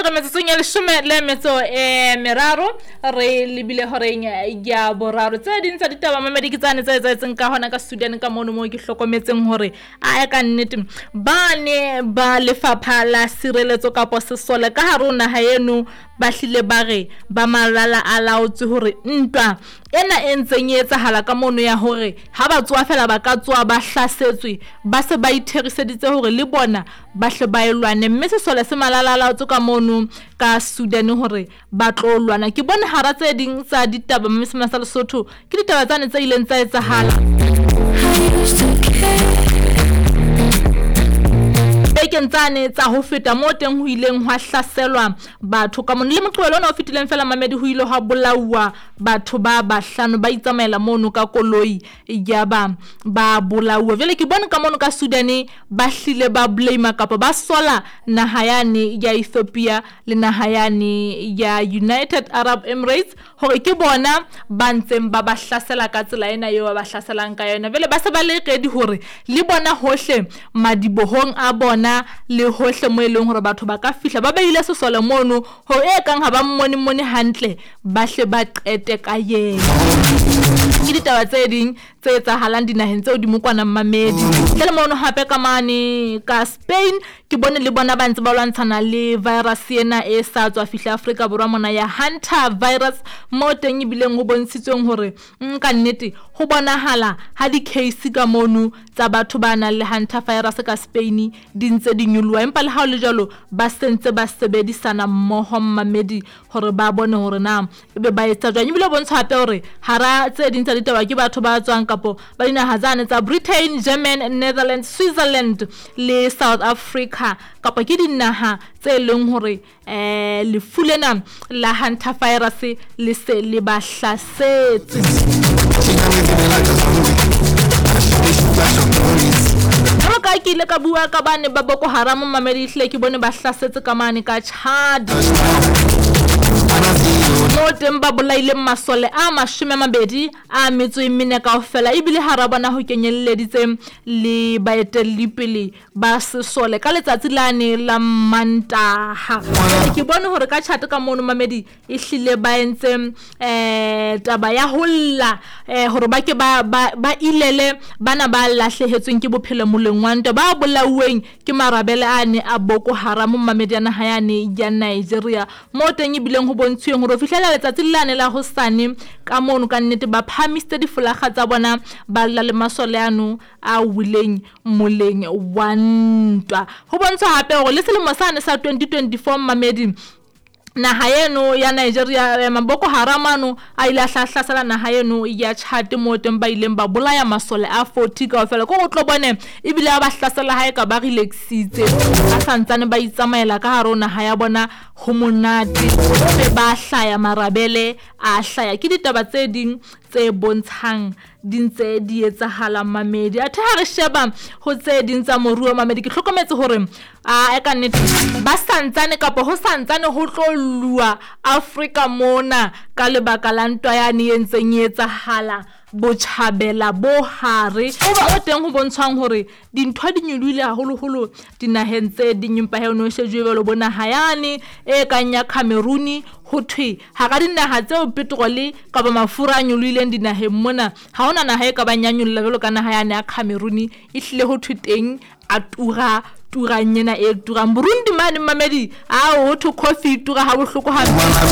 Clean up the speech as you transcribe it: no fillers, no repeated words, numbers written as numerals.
Jwale re metsotsong ya leshome le metso e meraro re lebile horeng ya boraro. Tse ding tsa ditaba mamedi ke tsane tse etsahetseng ka hona ka Sudan ka mono moo ke hlokometseng hore a ka nnete ba ne ba lefapha la sireletso kapo sesole ka hare ho naha eno ba hlile ba re ba malala a laotswe hore ntwa ena e ntseng e etsahala ka mono ya hore ha ba tsoha fela ba ka tsoha ba hlasetswe ba se ba itheriseditse hore le bona ba hle ba e lwane mme sesole se malala a laotswe ka mono ka Sudan hore ba tlo lwana. Ke bone hara tse ding tsa ditaba mme sema sa Lesotho ke ditaba tsane tse ileng tsa etsahala bekeng tsane tsa ho feta moo teng ho ileng hwa hlaselwa batho ka mono. Le Moqebelo ona o fetileng fela mamedi ho ile hwa bolauwa batho ba bahlano ba itsamaela mono ka koloi yaba ba bolauwa. Jwale ke bone ka mono ka Sudan ba hlile ba blame kapa ba sola naha yane ya Ethiopia le naha yane ya United Arab Emirates hore ke bona ba ntseng ba ba hlasela ka tsela ena eo ba ba hlaselang ka yona. Jwale ba se ba le ready hore le bona hohle madibohong a bona le hohle mo e leng hore batho ba ka fihla ba beile sesole mono hore e kang ha ba mmone mone hantle ba hle ba qete ka yena. Ke ditaba tse ding tse etsahalang dinaheng tseo di mokwana mmamedi. Ntle le mono hape ka mane ka Spain ke bone le bona ba ntse ba lwantshana le virus ena e sa tswa fihla Afrika Borwa mona ya Hunter virus mo teng ebileng ho bontshitsweng hore ka nnete ho bonahala ha di-case ka mono tsa batho ba nang le Hunter virus ka Spain di ntse di nyoloha empa le ha ho le jwalo ba sentse ba sebedisana mmoho mmamedi hore ba bone hore na ebe ba etsa jwang. Ebile bontsha hape hore hara tse ding tsa ditaba ke batho ba tswang kapo ba dinaha tsane tsa Britain, German, Netherlands, Switzerland le South Africa kapa ke dinaha tse leng hore lefu lena la Hunter virus le se le ba hlasetse. Jwalo ka ke ile ka bua ka bane ba Boko Haram mamedi ehlile ke bone ba hlasetse ka mane ka Chad mo teng ba bolaileng masole a 22 a metso e mene kaofela ebile hara bona ho kenyelleditse le baetellipele ba sesole ka letsatsi lane la Mantaha. Ke bone hore ka Chad ka mono mamedi ehlile ba entse taba ya ho lla hore ba ke ba ilele bana ba lahlehetsweng ke bophelo moleng wa ntwa ba bolauweng ke marabele ane a Boko Haram mamedi a naha yane ya Nigeria mo teng ebileng ho bontshweng hore ho fihlela letsatsi lane la hosane ka mono ka nnete ba phahamisitse difolaga tsa bona ba lla le masole ano a wileng moleng wa ntwa. Ho bontshwa hape hore le selemo sane sa 2024 mamedi naha eno ya Nigeria Boko Haram ano a ile a hlasela naha eno ya Chad mo teng ba ileng ba bolaya masole a 40 kaofela. Ko tlo bone ebile ba hlasela hae ka ba relaxitse ba santsane ba itsamaela ka hare ho naha ya bona ho monate be ba hlaya marabele a hlaya. Ke ditaba tse ding tse bontshang di ntse di etsahala mamedi. Athe ha re sheba ho tse ding tsa moruo mamedi ke hlokometse hore a ka nnete ba santsane kapa ho santsane ho tlo lua Afrika mona ka lebaka la ntwa yane e ntseng e etsahala botjhabela bo hare o teng ho bontshwang hore dintho di nyolohile haholoholo dinaheng tse ding empa he ono shejwe jwalo bo naha yane e kang ya Cameroon ho thwe hara dinaha tseo petrole kapa mafura a nyolohileng dinaheng mona ha hona naha e ka bang ya nyolla jwalo ka naha yane ya Cameroon ehlile ho thwe teng a tura turang ena e turang. Burundi mane mamedi a ho thwe coffee tura ha bohloko hampe.